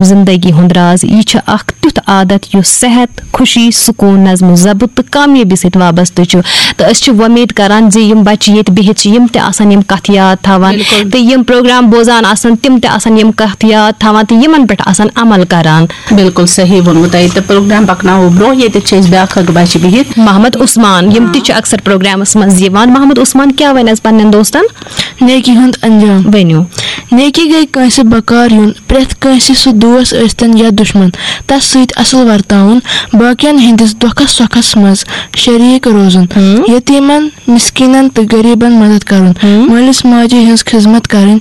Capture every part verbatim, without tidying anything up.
زندگی ہُنٛد راز۔ یہِ چھُ اکھ تیُتھ عادت یُس صحت، خوشی، سکوٗن، نظم و ضبط تہٕ کامیٲبی سۭتۍ وابستہٕ چھُ۔ تہٕ أسۍ چھِ وۄمید کران زِ یِم بچہِ ییٚتہِ بِہِتھ چھِ، یِم تہِ آسن یِم کتھ یاد تھاوان، بِلکُل۔ تہٕ یِم پروگرام بوزان آسن، تِم تہِ آسن یِم کتھ یاد تھاوان تہٕ یِمن پٮ۪ٹھ آسن عمل کران۔ بِلکُل صحیح ووٚنمُت تۄہہِ۔ تہٕ پروگرام پکناوو برونٛہہ۔ ییٚتہِ چھِ أسۍ بیاکھ اکھ بچہِ بِہِتھ۔ محمد عثمان، یِم تہِ چھِ اکثر پروگرامس منٛز یِوان۔ محمد عثمان کیٛاہ وَنہِ آز پننٮ۪ن دوستن؟ نیکی ہُنٛد انجام۔ ؤنِو۔ نیکی گٔے کٲنٛسہِ بکار یُن، پرٛٮ۪تھ کٲنٛسہِ، سُہ دوس ٲسۍتن یا دُشمن، تس سۭتۍ اصل ورتاوُن، باقین ہٕنٛدِس دۄکھس سۄکھس منٛز شریٖک روزُن، ہم۔ یتیٖمن، مسکیٖنن تہٕ غریٖبن مدد کرُن، ہم۔ مٲلِس ماجہِ ہٕنٛز خدمت کرٕنۍ،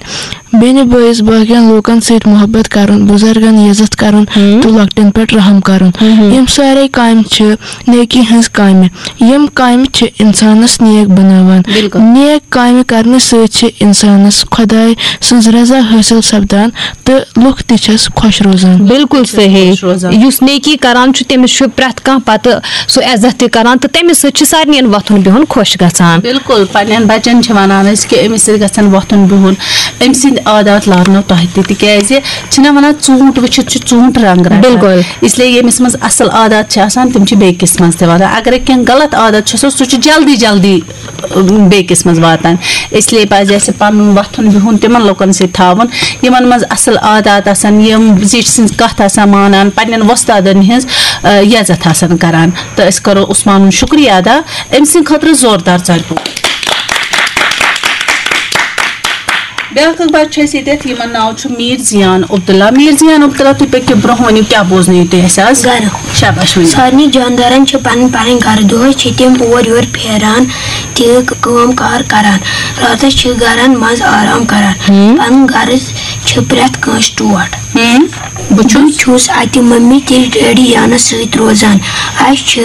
بیٚنہِ بٲیِس باقین لوٗکن سۭتۍ محبت کرُن، بُزرگن عزت کرُن، ہم۔ تہٕ لۄکٹٮ۪ن پٮ۪ٹھ رحم کرُن۔ ہم۔ یِم سارے کامہِ چھِ نیکی ہٕنٛز کامہِ۔ یِم کامہِ چھِ انسانس نیک بناوان۔ بِلکُل۔ نیک کامہِ کرنہٕ سۭتۍ چھِ انسانس خۄداے سٕنٛز رضا حٲصِل سپدان تہٕ لُکھ تہِ چھِس خۄش روزان۔ بِلکُل صحیح۔ خۄش روزان۔ یُس نیکی کران چھُ، تٔمِس چھُ پرٛٮ۪تھ کانٛہہ پتہٕ سُہ عزت تہِ کران تہٕ تٔمِس سۭتۍ چھُ سارنٕین وۄتھُن بِہُن خۄش گژھان۔ بِلکُل، پننٮ۪ن بچن چھِ ونان أسۍ کہِ أمِس سۭتۍ گژھن وۄتھُن بِہُن، أمۍ سٕنٛدۍ عادات لاگنو تۄہہِ تہِ، تِکیازِ چھِنہ ونان، ژوٗنٛٹھ وٕچھِتھ چھُ ژوٗنٛٹھ رنٛگ رٹان۔ بِلکُل۔ اس لیے ییٚمِس منٛز اصل عادات چھِ آسان، تِم چھِ بیٚیہِ کِس منٛز تہِ واتان۔ اگر کینٛہہ غلط عادت چھُ آسان، سُہ چھُ جلدی جلدی، اۭں، بیٚیہِ کِس منٛز واتان۔ اس لیے پزِ اسہِ پنُن وۄتھُن بِہُن تِمن لُکن سۭتۍ تھاوُن، یِمن منٛز اصل عادات آسان، یِم زِٹھۍ سٕنٛز کتھ آسان مانان، پننٮ۪ن وۄستادن ہٕنٛز، اۭں، عزت آسان کران۔ تہٕ أسۍ کرو عثمانُن شُکریہ ادا، أمۍ سٕنٛدِ خٲطرٕ زوردار ژَرِ پوٚپ۔ بیٛاکھ اکھ بچہِ چھُ اَسہِ ییٚتٮ۪تھ، یِمن ناو چھُ میٖر زیان عبداللہ۔ میٖر زیان عبداللہ، تُہۍ پٔکِو برٛونٛہہ، ؤنِو کیٛاہ بوزنٲیِو تُہۍ اَسہِ آز؟ گرٕ۔ شاباش، ؤنِو۔ سارنٕے جاندارن چھِ پنٕنۍ پنٕنۍ گرٕ۔ دۄہس چھِ تِم اور یور پھیران تہٕ کٲم کار کران۔ راتس چھِ گرن منٛز آرام کران۔ ہم۔ پنُن غرض چھِ پرٛٮ۪تھ کٲنٛسہِ ٹوٹھ۔ ہم۔ بہٕ چھُس۔ بہٕ چھُس اَتہِ مٔمی تہٕ ڈیڈی جانَس سۭتۍ روزان۔ اَسہِ چھِ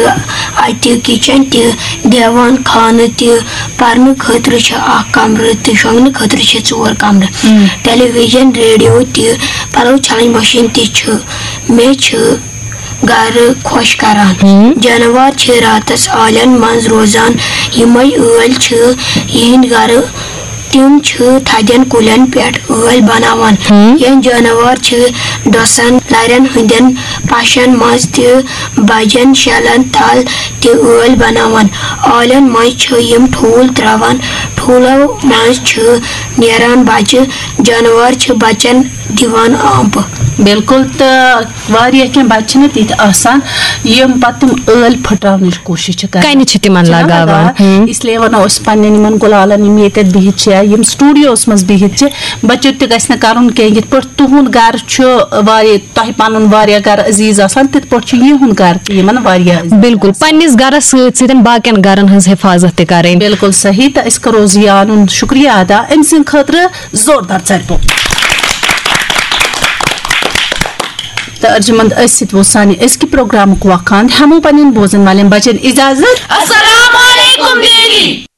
اَتہِ کِچن تہِ، دیوان خانہٕ تہِ، پَرنہٕ خٲطرٕ چھِ اَکھ کَمرٕ تہٕ شۄنٛگنہٕ خٲطرٕ چھِ ژور کَمرٕ۔ ہم۔ ٹیلی ویژن، ریڈیو تہِ، پَلو چھَلٕنۍ مِشیٖن تہِ چھِ۔ مےٚ چھِ گَرٕ خۄش کَران۔ ہم۔ جانوار چھِ راتَس آلٮ۪ن منٛز روزان۔ یِمَے ٲلۍ چھِ یِہِنٛدۍ گَرٕ۔ تِم چھِ تھدٮ۪ن کُلٮ۪ن پٮ۪ٹھ ٲلۍ بناوان۔ ہم۔ کینٛہہ جاناوار چھِ ڈۄسن، نرٮ۪ن ہٕنٛدٮ۪ن پاشن منٛز تہٕ بجن شیلن تل تہِ ٲلۍ بناوان۔ آلٮ۪ن منٛز چھِ یِم ٹھوٗل تراوان۔ ٹھوٗلو منٛز چھِ نیران بچہِ۔ جاناوار چھِ بچن دِوان آمپہٕ۔ بِلکُل، تہٕ واریاہ کینٛہہ بچہِ چھِنہٕ تِتھۍ آسان، یِم پتہٕ تِم ٲلۍ پھٕٹراونٕچ کوٗشِش چھِ کران۔ کَنہِ چھِ تِمن چھِنہ لگاوان۔ لگاوان؟ ہم۔ اس لیے ونو أسۍ پننٮ۪ن یِمن گُلالن، یِم ییٚتٮ۪تھ بِہِتھ چھِ یا یِم studio-س منٛز بِہِتھ چھِ، بچو تہِ گژھِ نہٕ کرُن کینٛہہ۔ یِتھ پٲٹھۍ تُہُنٛد گرٕ چھُ واریاہ، تۄہہِ پنُن واریاہ گرٕ عزیز آسان، تِتھ پٲٹھۍ چھُ یِہُنٛد گرٕ تہِ یِمن واریاہ عزیز بِلکُل، آسان۔ پننِس گرس سۭتۍ سۭتۍ باقین گرن ہٕنٛز حفاظت تہِ کرٕنۍ۔ بِلکُل صحیح، تہٕ أسۍ کرو زیانُن شُکریہ ادا أمۍ سٕنٛدِ خٲطرٕ۔ زوردار ژَرِ پوٚپ۔ تہٕ ارجمند، أتھۍ سۭتۍ ووت سانہِ أزکہِ پروگرامُک وقان۔ ہٮ۪مو پننٮ۪ن بوزن والٮ۪ن بچن اجازت۔ السلام علیکم دیدی۔